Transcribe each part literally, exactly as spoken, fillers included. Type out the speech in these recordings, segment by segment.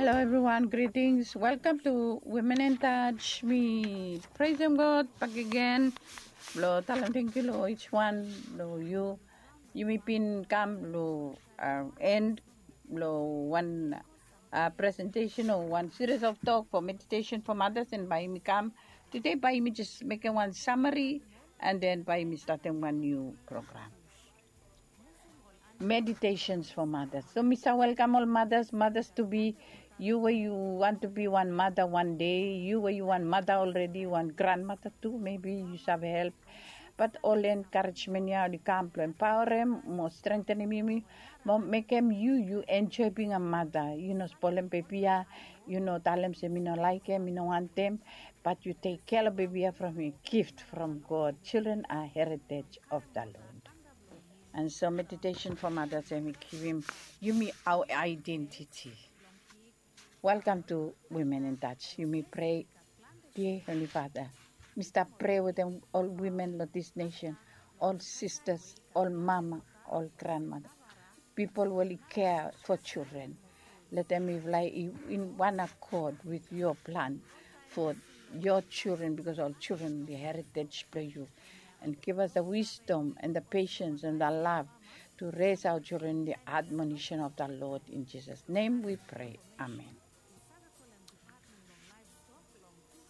Hello everyone, greetings. Welcome to Women in Touch. Mi praisem God bakegen. Blong talem tangkiu long each one blong yu. Yumi bin kam long, uh, end blong wan, uh, presentation o wan series of talk for meditation for mothers, and bae yumi kam today, bae yumi jes mekem wan summary, and then bae yumi statem wan niu program. Meditations for mothers. So mi sa welkam ol mothers, mothers to be, yu we yu want to be wan mother wan dei, yu we yu wan mother already, wan grandmother tu, maybe yu save help. Bat ol encouragement ya oli kam blong empowerem mo strengthenem yumi mo mekem yu, yu enjoy being a mother. Yu no spolem bebi ya, yu no talem se mi no laekem, mi no wantem, bat yu tek kea long bebi ya from a gift from God. Children are heritage of the Lord. And so meditation for mothers, hemi givim yumi our identity. Welcome to Women in Touch. Yumi prea. Dear Heavenly Father, mi stap prea wetem ol women long this nation, ol sisters, ol mama, ol grandmother, pipol we oli kea for children. Let them live life in one accord with your plan for your children, because all children the heritage blong yu. And give us the wisdom and the patience and the love to raise our children in the admonition of the Lord. In Jesus' name we pray. Amen.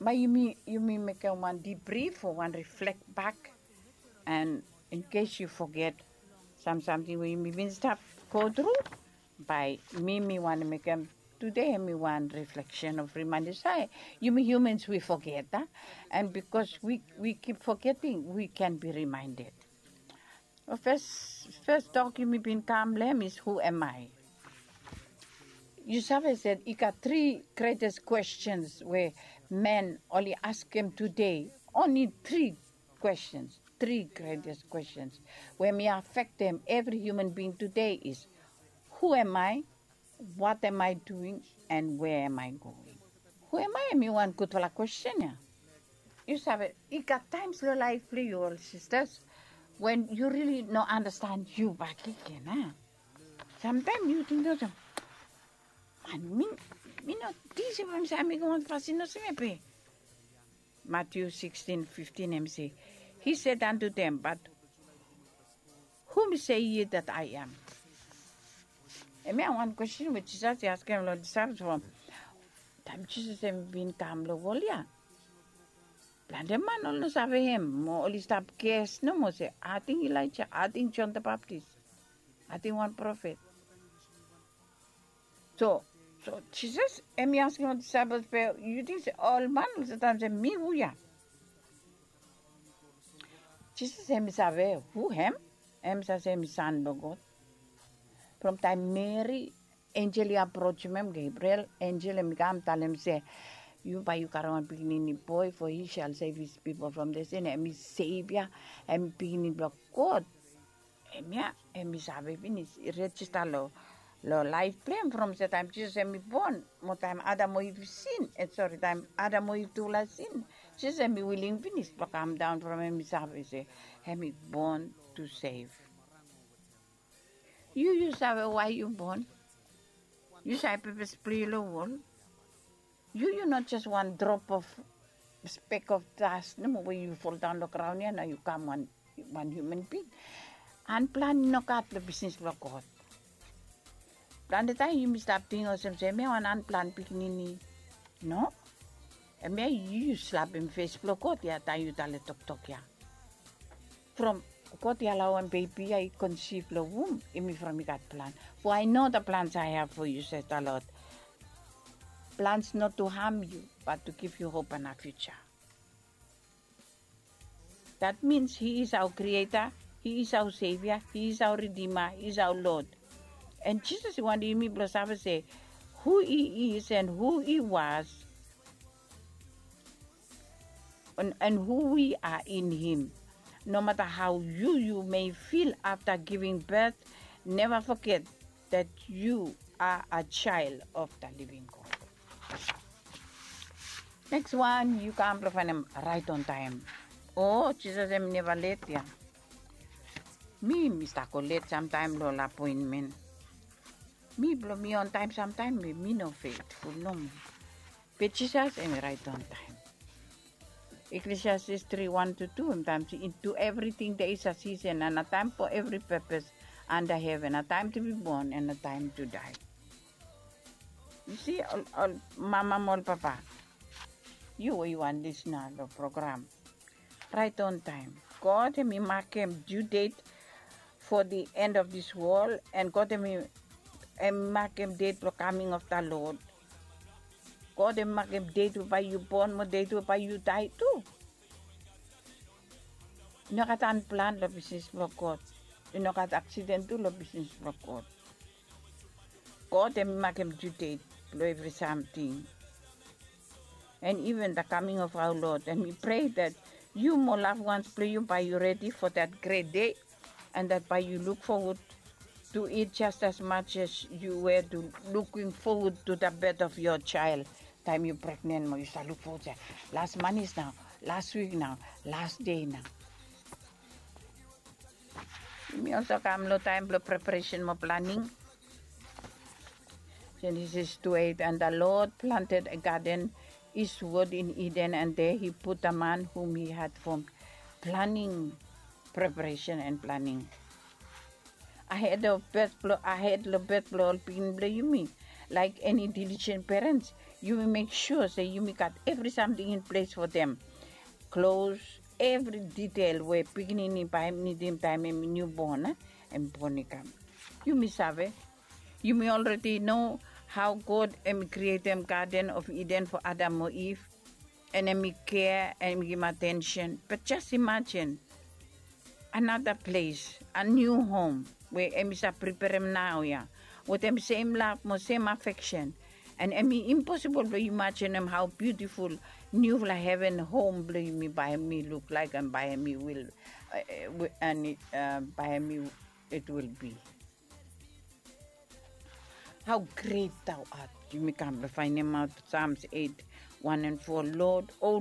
Bae yumi, yumi mekem wan debrief o wan reflect back, and in case yu foget sam samting we yumi bin stap go tru, bae mi, mi wantem mekem today hemi wan reflection of reminder se yumi humans, we forget, a? And because we, we keep forgetting, we can be reminded. Fes, fes tok yumi bin kam long hem is, who am I? Yu save se i gat tri greatest questions we men oli askem today. Only tri questions, tri greatest questions we hemi afektem evri human being today is, who am I? What am I doing and where am I going? Who am I? Hemi wan gudfala kwesten ya. Yu save, i gat times long laef blong yu, ol sisters, when yu rili no andastan yu bakegen, a? Samtaem yu ting olsem, man, mi, mi no tingim se bae mi save mekem wan fasin olsem ya be. Matthew sixteen fifteen, hemi se, He said unto them, but whom say ye that I am? Hemia wan kwesten we Jisas i askem long disaepol from taem Jisas hemi bin kam long wol ya. Plante man oli no save hem, mo oli stap ges nomo se, ating Elaeja, ating Jon the Baptist, ating wan profet. So, so Jisas hemi askem ol disaepol be, yu ting se ol man oli save talem se mi hu ya? Jisas hemi save hu hem, hemi save se hemi San blong God. From taem Meri, enjel i aprojem hem, Gebriel, enjel hemi kam talem se, yu bae yu karem wan pikinini boe, for he shall save his people from their sin. Hemi Sevia, hemi pikinini blong God. Hemia hemi save finis, i rejista long, long laef blong hem from se taem Jisas hemi bon, mo taem Adam o Iv i sin, e, sori, taem Adam o Iv tufala i sin, Jisas hemi wiling finis blong kamdaon from hem, hemi save se hemi bon to save. Yu, yu save wae yu bon? Yu save pepes blong yu long wol? Yu, yu no jes wan drop of, spek of das nomo we yu foldaon long graon ya, nao yu kam wan, wan human bing. Anplan i no gat long bisnis blong God. Plante taem yumi stap ting olsem se hemia wan anplan pikinini. No. Hemia yu, yu slapem fes blong God ya taem yu talem toktok ya. From God i alaoem bebi ya i konsif long wum, hemi from i gat plan. For I know the plans I have for you, says the Lord. Plans not to harm you, but to give you hope and a future. That means he is our creator, he is our savior, he is our redeemer, he is our Lord. And Jisas i wantem yumi blong save se who he is and who he was, and, and who we are in him. No matter how you, you may feel after giving birth, never forget that you are a child of the living God. Next one, yu kam blong faenem right on time. O, Jisas hemi neva let ya. Mi, mi stap go let samtaem long ol apoentmen. Mi blong mi on taem samtaem mi no feitful nomo. Be Jisas em i raet on taem. Eklesiastes tri wan tu tu em taem se, "To everything there is a season, and a time for every purpose under heaven, a time to be born and a time to die." Yu si, ol mama mo ol papa, yu we yu wan lisna long program, raet on taem. God em i makem due date for the end of this world, and God em i makem date blong coming of the Lord. God em i makem date we bae yu bon mo date we bae yu dae tu. I no gat unplan long bisnis blong God. I no gat aksiden tu long bisnis blong God. God em i makem due date blong evri samting. And even the coming of our Lord. And we pray that you mo loved ones blong yu bae yu redi for that great day, and that bae yu look forward to it just as much as you were to looking forward to the birth of your child. Taem yu pregnen mo yu stap luk fowod se, "Las manis nao, las wik nao, las dei nao." Yumi olsem kam long taem blong preparesen mo planing. Genesis two eight, and the Lord planted a garden eastward in Eden, and there he put the man whom he had formed. Planing, preparesen and planing. Ahed of birth blong, ahed long birth blong ol pikinini blong yumi, laek eni diligent parents, yumi mek sua se yumi gat evri samting in ples fo dem. Klos, evri ditel we pikinini bae hem nidim taem hem niubon, a, hem bon i kam. Yumi save, yumi already know how God hem i krietem Garden of Eden fo Adam mo Iv, and hem i kea, and hem i givim atensen. But just imagine, another place, a new home we hem i save preperem naoia wetem sem lav mo sem afeksen. And hem i imposibol blong yu imajenem hao biutiful niufala heven hom blong yumi bae hem i luk laek and bae hem i wil, and bae hem i, it will be. How great thou art. Yumi kam blong faenemaot Psalms eight, one and four. Lord, oh